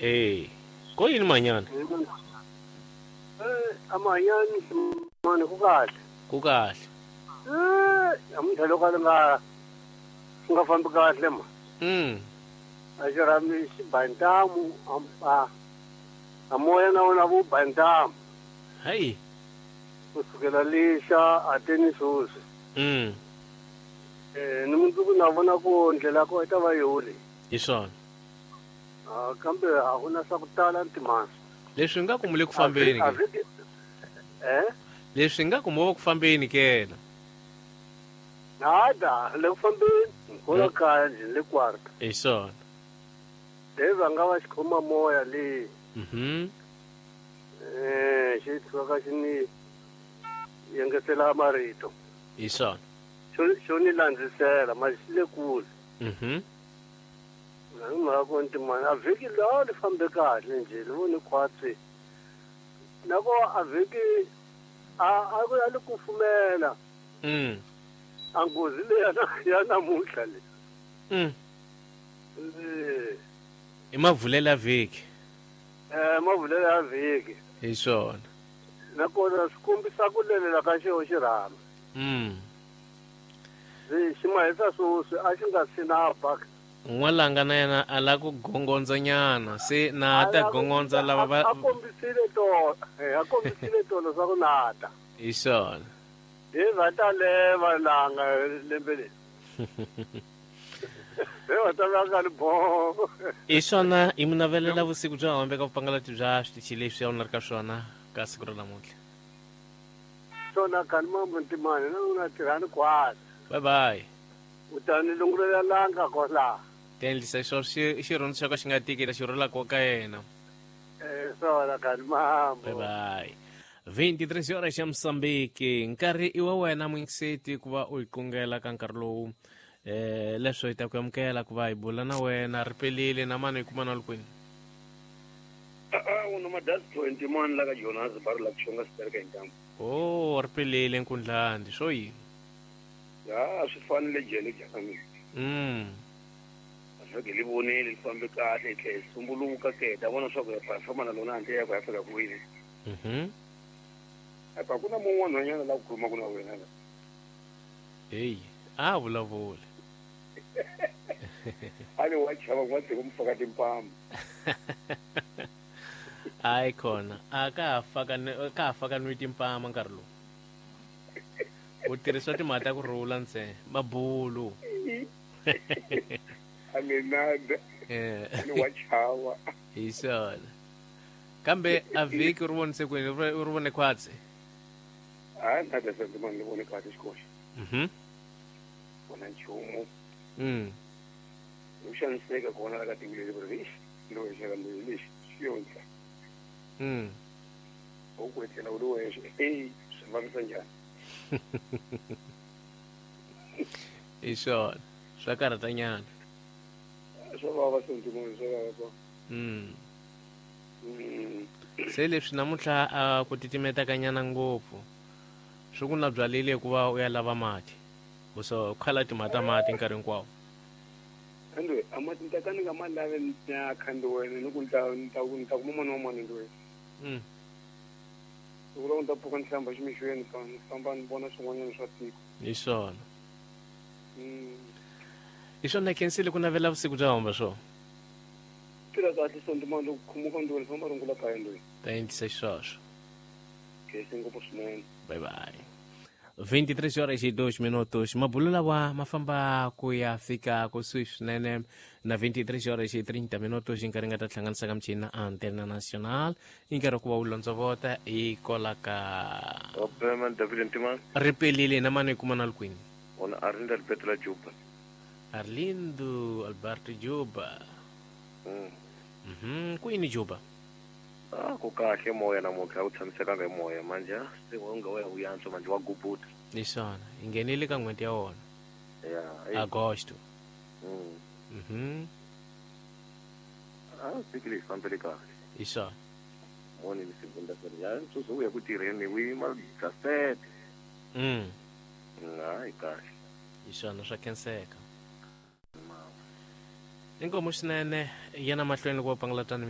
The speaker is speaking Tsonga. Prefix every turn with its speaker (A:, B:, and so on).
A: Eh, ko yini manyana?
B: Eh, amanyani mani ku kahle.
A: Ku kahle.
B: Eh, namuntlha loko a nga swi nga fambi kahle ma. A xi rhami xi ba ntamu a a moya na wona wu ba ntamu.
A: Hayi.
B: Ku sukela lixa a teni sweswi. Eh, ni mundzuku na vona ku ndlela ko yi ta va yoli.
A: Hi swona.
B: Ah, kambe a ku na swa ku tala ntimani.
A: Leswi nga ku mu le ku fambeni ke.
B: Eh?
A: Leswi nga ku mo ku fambeni ke na.
B: Nada, le ku fambeni. Kola kaya nje le kwarta.
A: Hi swona.
B: Le va nga va xikhoma moya le. Eh, xi tshuka xi ni yengetela marito.
A: Hi swona.
B: Xo ni landzisela, ma xi le kule. Hi mhaka ku ntimani a vhiki lawa li fambe kahle nje li vone khwatsi na ko a vhiki a a li kufumela. A nghozi leyi ya namuntlha le.
A: I mavulela vhiki.
B: Eh, mavulela ya vhiki.
A: Hi swona.
B: Nakona swi kombisa ku lelela ka xo xirhami. Xi mahisa swoswi a xi nga si na baka.
A: N'walanga na yena a la ku gongondzanyana se na ta gongondza lava va
B: a kombisile tolo, a kombisile tolo swa ku nata.
A: Hi swona.
B: Hi va ta leva langa lembe leri. Hi va ta langa li bo.
A: Hi swona hi mi navelela vusiku bya hombe ka vupangalati bya switichi leswi a wu na ri ka swona ka siku ra namuntlha.
B: Swona kani mambo ntimani na u na tirhani kwala.
A: Bye bye.
B: U ta ni lungulela langa kwala.
A: Ti endlisa xo xirhundzu xa ka xi nga tiki ta xi rhula ka yena.
B: Eh, swona kani mambo.
A: Bye bye. 23 horas ya Mozambique. Nkarhi i wa wena muyingiseti ku va u hi qungela ka nkarhi lowu. Leswo hi ta ku amukela ku va hi bula na wena ri pelile na mani hi kuma na kwini.
C: A una madasi 21 la ka Jonas bar la kushonga sitereka hi ntambu.
A: Oh, ri pelile nkundlandi swo yini?
C: Ya swi fanele jele jana. Vhiki li vonile li fambe kahle hi tlhela hi sumbuluka ke ta vona swa ku ya famba na lona handle ya ku ya fika kwini. Apa ku na mun'wana nhwanyana la ku khulumaka na wena la.
A: Hey, a vulavula.
C: A ni wa chava ku va tshika mu faka timpama.
A: Hayi khona, a ka ha faka nwi timpama nkarhi lowu. U tirhisa timhaka ta ku rhula ntsena, mabulu.
C: A ni nada. A ni wa chava.
A: Hi swona. Kambe a vhiki ri vonise kwini? Ri vone khwatsi?
C: A nada se ndzi ni vone kahle xikoxo. Vona nchumu. U xaniseka kona la ka tiko leri ri loyi xaka loyi lexi xi yonhla. U ku etlela u ri wexe. Hey, swi vavisa njhani?
A: Hi swona. Swa karhatanyana.
C: Swa vava sentiment, swa vava pa.
A: Se leswi namuntlha a ku titimetakanyana ngopfu. Swi ku na byalile hikuva u ya lava mati. U so khala timhaka ta mati nkarhi hinkwawo.
C: Ande a mati ni ta ka ni nga ma lavi ni ya khandi wena ni ku ni ta kuma mani wa mani ndi wena. Loko loko ni ta pfuka ni hlamba ximixweni ka ni famba ni vona swin'wanyana swa tiko.
A: Hi swona. Hi swona khensile ku navela vusiku bya homba swo.
C: Phila kahle sonto mani loko khumuka ndi wena famba rungula kaya ndi wena.
A: Ta endlisa xisweswo.
C: Khensi ngopfu swinene.
A: Bye bye. 23 horas e 2 minutos. Mabulo lawa ma famba ku ya fika kusuhi swinene na 23 horas e 30 minutos nkarhi nga ta hlanganisa ka michini na Antena Nacional. I nkarhi ku va wu londzovota hi kola ka ri pelile na mani hi kuma na kwini.
C: Ona Arlindo Alberto la Juba.
A: Arlindo Alberto Juba. Kwini Juba?
C: Ah, ku kahle moya namuntlha wu tshamisekanga hi moya manje se wa nga wa ya yantswa manje wa gubuta.
A: Hi swona, hi nghenile ka n'hweti ya wona.
C: Ya.
A: Agosto.
C: Ah, vhiki leyi fambele kahle.
A: Hi swona.
C: Moni ni segunda feira. Ya ntsutsu u ya ku tirheni wi ma gasete. Hayi kahle.
A: Hi swona swa khenseka. Inkomu swinene yena mahlweni loko va pangalatana.